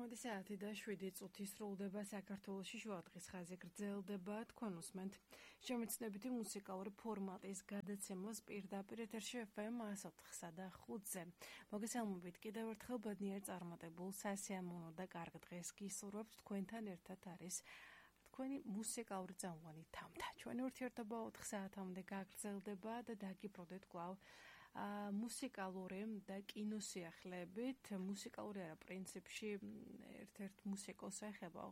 14 საათი და 7 წუთი სრულდება საქართველოში შუადღის ხაზი გრძელდება თქვენ უსმენთ შემეცნებითი მუსიკალური ფორმატის გადაცემას პირდაპირ ეთერში FM 104-სა და 5-ზე. მოგესალმებით კიდევ ერთხელ ბედნიერ წარმატებულ სასიამოვნო და კარგ დღეს გისურვებთ თქვენთან ერთად არის თქვენი მუსიკალური წამყვანი თამთა. ჩვენი ურთიერთობა 4 საათამდე გაგრძელდება და დაგიბრუნდეთ კვლავ მუსიკალური და კინოსიახლეებით. მუსიკალური არა პრინციპში ერთ-ერთ მუსიკოს ეხება,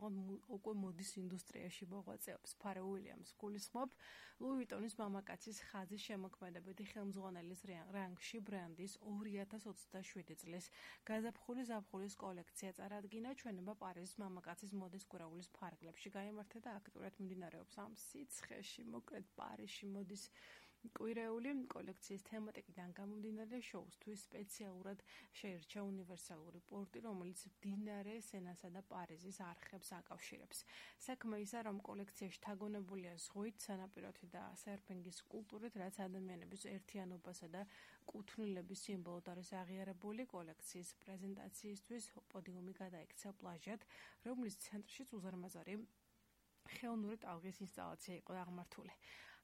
უკვე მოდის ინდუსტრიაში მოღვაწეობს. ფარე უილიამს გულისხმობ ლუი ვიტონის მამაკაცის ხაზის შემოქმედებითი ხელმძღვანელის რანგში ბრენდის 2027 წლის გაზაფხულის ზაფხულის კოლექცია წარადგინა. ჩვენება პარიზის მამაკაცის მოდის კვირაულის ფარგლებში გაიმართა და აქტიურად მიმდინარეობს ამ სიცხეში. მოკლედ პარიზში მოდის კვირეული კოლექციის თემატიკიდან გამომდინარე შოუსთვის სპეციალურად შეირჩა უნივერსალური პორტი, რომელიც მდინარე სენასა და პარიზის არხებს აკავშირებს. საქმე ისა, რომ კოლექციაში თაგონებულია ზღვით, სანაპიროთი და სერფინგის კულტურით, რაც ადამიანების ერთიანობასა და კუთვნილების სიმბოლოდ არის აღიარებული. კოლექციის პრეზენტაციისთვის პოდიუმი გადაიქცა პლაჟად, რომლის ცენტრშიც უზარმაზარი ხელოვნური ტალღის ინსტალაცია იყო აღმართული.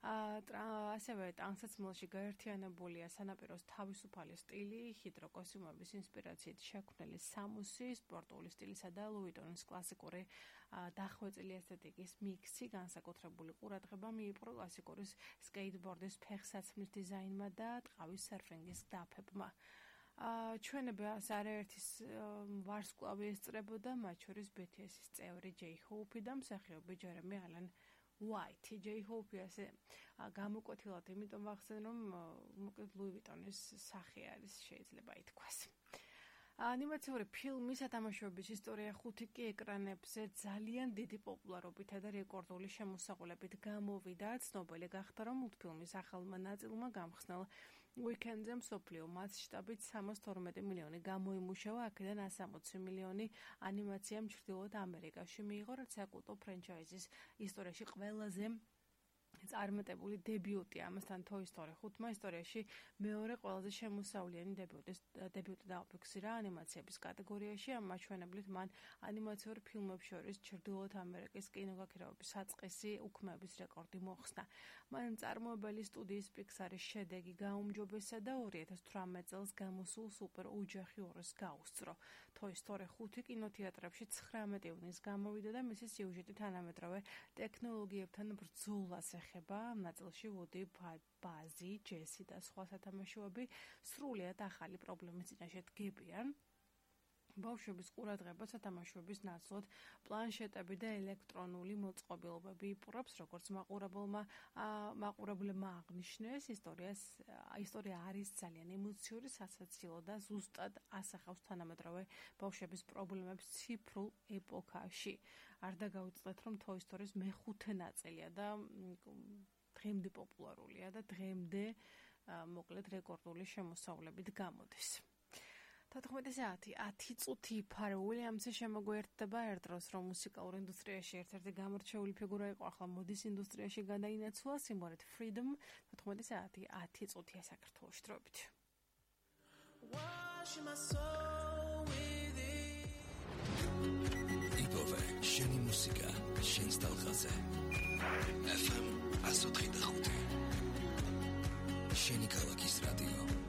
ასევე ტანსაცმელში გაერთიანებულია სანაპიროს თავისუფალი სტილი, ჰიდროკოსტიუმების ინსპირაციით შექმნილი სამუსი, სპორტული სტილისა და ლუი ვიტონის კლასიკური დახვეწილი ესთეტიკის მიქსი, განსაკუთრებული ყურადღება მიიპყრო კლასიკური სკეიტბორდის ფეხსაცმლის დიზაინმა და ტყავის სერფინგის დაფებმა. ჩვენებას არაერთის ვარსკვლავი ესწრებოდა, მათ შორის BTS-ის წევრი ჯეი ჰოუფი და მსახიობი ჯერემი ალენ უაითი. ჯეი ჰოუფი ასე გამოკვეთილად იმიტომ ვახსენ, რომ მოკლედ ლუი ვიტონის სახე არის, შეიძლება ითქვას. ანიმაციური ფილმის სათამაშოების ისტორია 5 კი ეკრანებზე ძალიან დიდი პოპულარობითა და რეკორდული შემოსავლებით გამოვიდა. ცნობილი გახდა, რომ მულტფილმის ახალმა ნაწილმა გამხსნელ უიკენდზე მსოფლიო მასშტაბით 312 მილიონი გამოიმუშავა, აქედან 160 მილიონი ანიმაციამ ჩრდილოეთ ამერიკაში მიიღო, რაც საკულტო ფრენჩაიზის ისტორიაში ყველაზე წარმატებული დებიუტი. ამასთან Toy Story 5-მა ისტორიაში მეორე ყველაზე შემოსავლიანი დებიუტი დააფიქსირა ანიმაციების კატეგორიაში. ამ მაჩვენებლით მან ანიმაციურ ფილმებს შორის ჩრდილოეთ ამერიკის კინოგაქირავების საწყისი უქმეების რეკორდი მოხსნა. მან წარმოებელი სტუდიის Pixar-ის შედეგი გაუმჯობესა და 2018 წელს გამოსულ სუპერ ოჯახი 2-ს გაუსწრო. Toy Story 5 კინოთეატრებში 19 ივნისს გამოვიდა და მისი სიუჟეტი თანამედროვე ტექნოლოგიებთან ბრძოლას ეხება. ამ ნაწილში ვუდი, ბაზი, ჯესი და სხვა სათამაშოები სრულიად ახალი პრობლემის წინაშე დგებიან. ბავშვების ყურადღება სათამაშოების ნაცვლად პლანშეტები და ელექტრონული მოწყობილობები იპყრობს, როგორც მაყურებლებმა აღნიშნეს. ისტორია არის ძალიან ემოციური, სასაცილო და ზუსტად ასახავს თანამედროვე ბავშვების პრობლემებს ციფრულ ეპოქაში. არ დაგაუწყდეთ, რომ Toy Story-ის მეხუთე ნაწილია და დღემდე პოპულარულია და დღემდე მოკლედ რეკორდული შემოსავლებით გამოდის. 14 საათი 10 წუთი ფარე უილიამსი შემოგვიერთდება ერთ დროს, რომ მუსიკალურ ინდუსტრიაში ერთ-ერთი გამორჩეული ფიგურა იყო, ახლა მოდის ინდუსტრიაში გადაინაცვლა სიმღერით Freedom. 14 საათი 10 წუთია საქართველოში დროებით. იპოვე შენი მუსიკა, შენ სტალღაზე. FM 104.5 შენი ქალაქის რადიო.